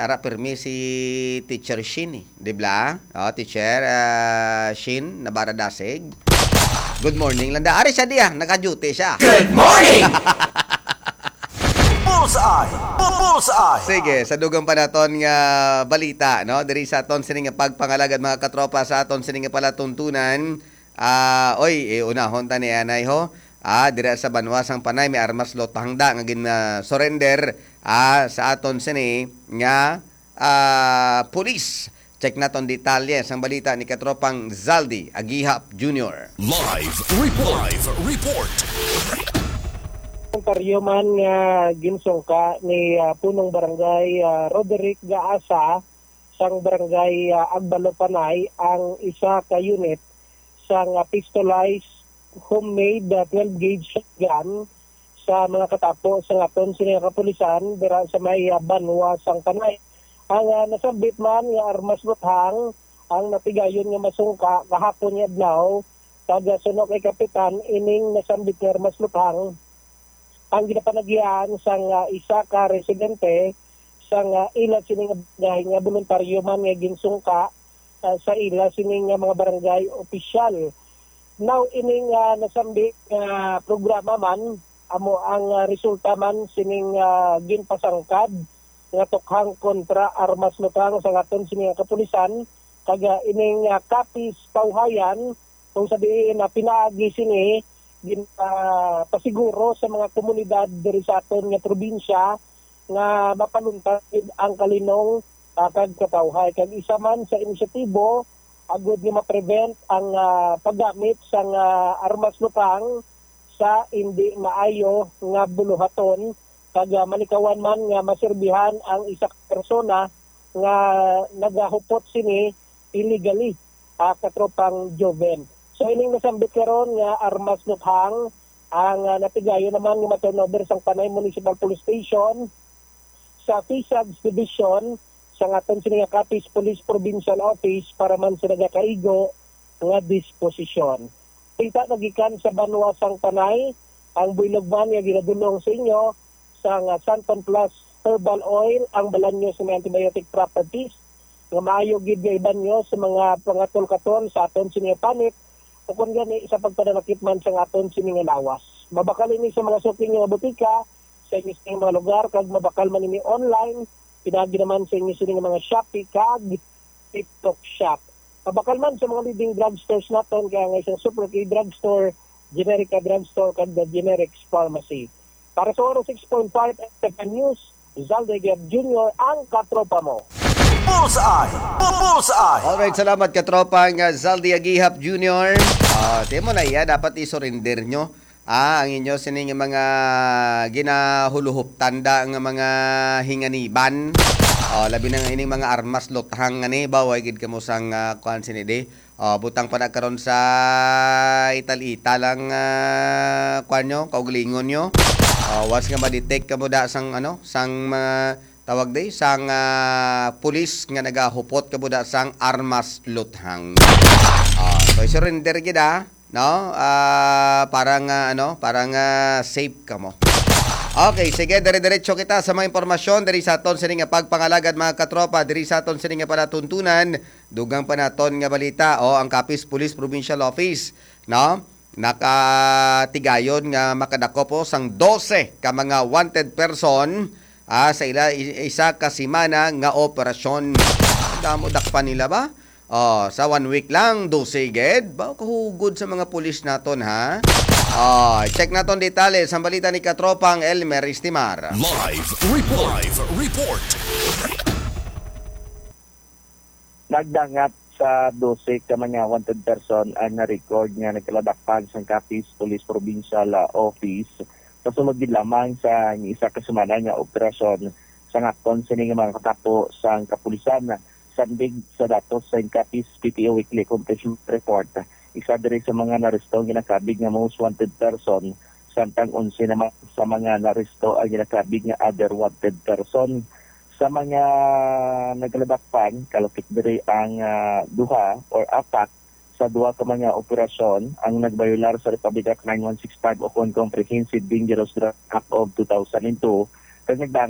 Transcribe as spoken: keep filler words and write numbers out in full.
Ara, pirmi si Teacher Shin eh. Di ba? Oh, Teacher ah, Shin Nabaradasig. Good morning lang da. Ari siya diya, naka-duty siya. Good morning! Bullseye! Bu- Bullseye! Sige, sa dugang pa naton nga balita, no? Diri sa aton sini nga pagpangalagad, mga katropa, sa aton sini nga palatuntunan. Ah, oy, eh, unahon ta ni anay ho. Ah, dira sa banwa sang Panay may armas lotang da nga gin ah, surrender ah, sa aton sini nga ah, pulis. Check naton detalye sang balita ni katropang Zaldi Agihap Junior. Live report. Live report. Voluntaryo man nga ginsungka ni ah, punong barangay ah, Roderick Gaasa sang barangay ah, Agbalo Panay ang isa ka unit sang ah, pistolized homemade ah, twelve gauge shotgun sa mga katapo sang aton sini nga kapulisan dira sa may ah, banwa sang Panay. Ang ah, nasambit man nga armas luthang ang natigayon nga masungka kahapon nga adlaw kag ah, suno kay kapitan ining nasambit nga armas luthang ang ginapanagian sang ah, isa ka residente sang ah, ila sini nga barangay nga boluntaryo man nga ginsungka ah, sa ila sini nga mga barangay opisyal. Now, ining ah, nasambi nga programa man amo ang ah, resulta man sining ah, ginpasangkad nga tukhang kontra armas lutang sa aton sini nga kapulisan kag ah, ining ah, Capiz Cauhayan kung sa diin na pinaagi sini gin ah, pasiguro sa mga komunidad diri sa aton nga probinsya nga mapaluntas gid ang kalinong ah, kag katawhay. Kag isa man sa inisyatibo agud nga ma-prevent ang ah, paggamit sang ah, armas lupang sa indi maayo nga buluhaton kag ah, malikawan man nga maserbihan ang isa ka persona nga nagahupot sini illegally, ah, katropang Joven. So ining nasambit karon nga armas luthang ang ah, natigayon naman nga ma-turnover sang Panay Municipal Police Station sa Fisags Division sang aton sini nga Capiz Police Provincial Office para man sa nagakaigo nga disposisyon. Kita nagikan sa banwa sang Panay ang buylog man nga ginadulong sa inyo sang ah, Santon Plus Herbal Oil, ang balanyo sa may antibiotic properties nga maayo gid nga ibanyo sa mga pangatol-katol sa aton sini nga panit o kon gani sa pagpananakit man sa aton sini nga lawas. Mabakal ini sa mga suki nga botika, sa inyo sini nga mga lugar, kag mabakal man ini online, pinaagi naman sa inyo sini nga mga Shopee kag TikTok Shop. Mabakal man sa mga leading drugstores naton, kaya nga isang Super K Drugstore, Generica Drugstore, kag The Generics Pharmacy. Para sa Oro six point five F M News, Zalde Gab Junior, ang katropa mo. Bullseye! Bu- Bullseye! Alright, salamat katropa nga Zaldi Agihap Junior. Ah, di mo na iya, dapat i-surrender nyo. Ah, ang inyo sini nga mga ginahuluhop tanda nga mga hinganiban. Oh, labi na nga ining mga armas luthang nga ni ba, way gid kamo sang ah, kuan sini di. Oh, butang pa na karon sa ital-ital ang ah, kuan nyo, kaugalingon nyo. Oh, once nga ma-detect kamo da sang ano, sang mga tawag di, sang ah, pulis nga nagahupot kamo da sang armas luthang. Oh, so surrender gid ah, no? Ah, parang ah, ano, parang ah, safe kamo. Okay, sige, dire-diretso kita sa mga impormasyon diri sa aton sini nga pagpangalagad, mga katropa, diri sa aton sini nga palatuntunan. Dugang pa naton nga balita, o ang Capiz Police Provincial Office, no? Nakatigayon nga makadakop po sang dose ka mga wanted person ah, sa ila i- isa ka semana nga operasyon. Damo dakpan nila ba? Oh, sa one week lang, dose gid. Ba, kahugod sa mga pulis naton, ha? Oh, check naton detalye sa balita ni Katropang Elmer Estimar. Live report. Live report. Nagdangat sa dose ka mga wanted person ang na-record nga nagkaladakpan sang Capiz Police Provincial ah, Office sa sulod gid lamang sa isa ka semana nga operasyon sa ngakon sini nga mga katapo sang kapulisan. Sandig sa datos sa Capiz P P O Weekly Accomplishment Report, isa diri sa mga naresto ang ginakabig nga most wanted person, samtang onse naman sa mga naresto ang ginakabig nga other wanted person. Sa mga nagladakpan, kalapit diri ang ah, duha or apat sa duha ka mga operasyon ang nagbayular sa Republic Act nine one six five o kon Comprehensive Dangerous Drug Act of two thousand two, kag nagdang